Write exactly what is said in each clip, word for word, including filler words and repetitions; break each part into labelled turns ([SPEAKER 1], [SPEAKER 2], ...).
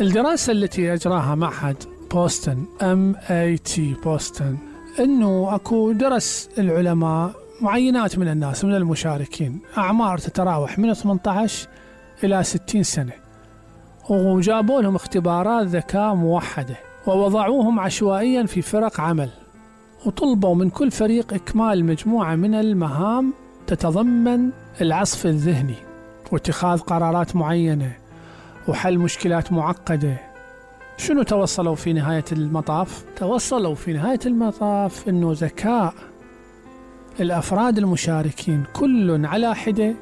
[SPEAKER 1] الدراسة التي أجراها معهد بوسطن إم إيه تي بوسطن، أنه أكو درس العلماء معينات من الناس من المشاركين أعمار تتراوح من ثمانية عشر إلى ستين سنة، وجابوا لهم اختبارات ذكاء موحدة ووضعوهم عشوائيا في فرق عمل، وطلبوا من كل فريق إكمال مجموعة من المهام تتضمن العصف الذهني واتخاذ قرارات معينة وحل مشكلات معقدة. شنو توصلوا في نهاية المطاف؟ توصلوا في نهاية المطاف أنه ذكاء الأفراد المشاركين كل على حدة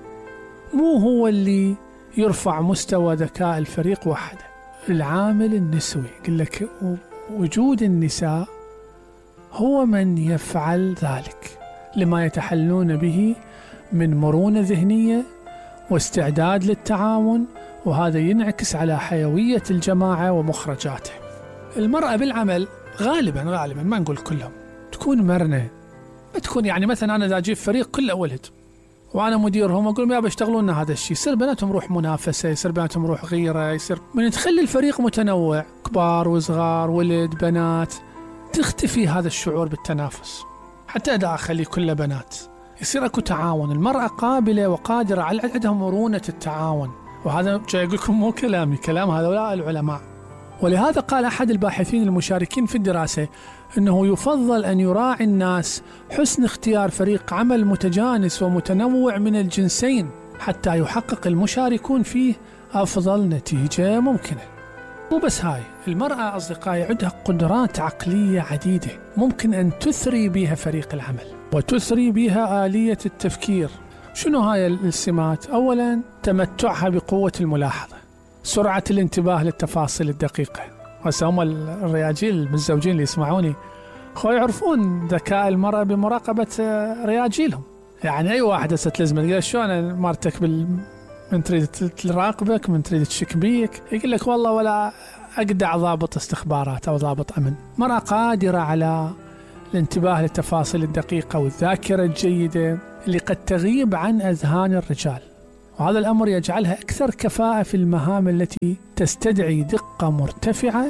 [SPEAKER 1] مو هو اللي يرفع مستوى ذكاء الفريق وحده. العامل النسوي، يقول لك وجود النساء هو من يفعل ذلك لما يتحلون به من مرونة ذهنية واستعداد للتعاون، وهذا ينعكس على حيوية الجماعة ومخرجاته. المرأة بالعمل غالبا غالبا ما نقول كلهم تكون مرنة، ما تكون يعني مثلا أنا إذا أجيب فريق كله ولد وأنا مديرهم أقول يا بيشتغلون لنا هذا الشيء، يصير بيناتهم روح منافسة، يصير بيناتهم روح غيرة، يصير من تخلي الفريق متنوع كبار وصغار ولد بنات تختفي هذا الشعور بالتنافس. حتى إذا أخلي كله بنات يصير أكو تعاون، المرأة قابلة وقادرة على عندهم مرونة التعاون، وهذا جاي أقول لكم مو كلامي، كلام هؤلاء العلماء. ولهذا قال أحد الباحثين المشاركين في الدراسة أنه يفضل أن يراعي الناس حسن اختيار فريق عمل متجانس ومتنوع من الجنسين حتى يحقق المشاركون فيه أفضل نتيجة ممكنة. مو بس هاي، المرأة أصدقائي عندها قدرات عقلية عديدة ممكن أن تثري بها فريق العمل وتثري بها آلية التفكير. شنو هاي السمات؟ أولا تمتعها بقوة الملاحظة، سرعة الانتباه للتفاصيل الدقيقة. هسه هم الرياجيل المتزوجين اللي يسمعوني خو يعرفون ذكاء المرأة بمراقبة رياجيلهم. يعني أي واحدة ستلزم تقول شلون مرتك بال من تريد تراقبك، من تريد تشك بيك، يقول لك والله ولا أقدع ضابط استخبارات أو ضابط أمن. مرأة قادرة على الانتباه للتفاصيل الدقيقة والذاكرة الجيدة اللي قد تغيب عن أذهان الرجال، وهذا الأمر يجعلها أكثر كفاءة في المهام التي تستدعي دقة مرتفعة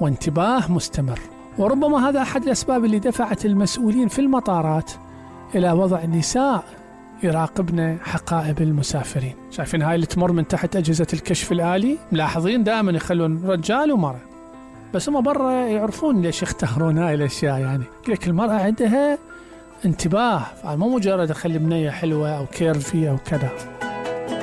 [SPEAKER 1] وانتباه مستمر. وربما هذا أحد الأسباب اللي دفعت المسؤولين في المطارات إلى وضع نساء يراقبن حقائب المسافرين. شايفين هاي اللي تمر من تحت أجهزة الكشف الآلي، ملاحظين دائما يخلون رجال ومرأة، بس هم برا يعرفون ليش يختارون هاي الأشياء. يعني لك المرأة عندها انتباه، مو مجرد أخلي بنية حلوة أو كيرفي أو كذا.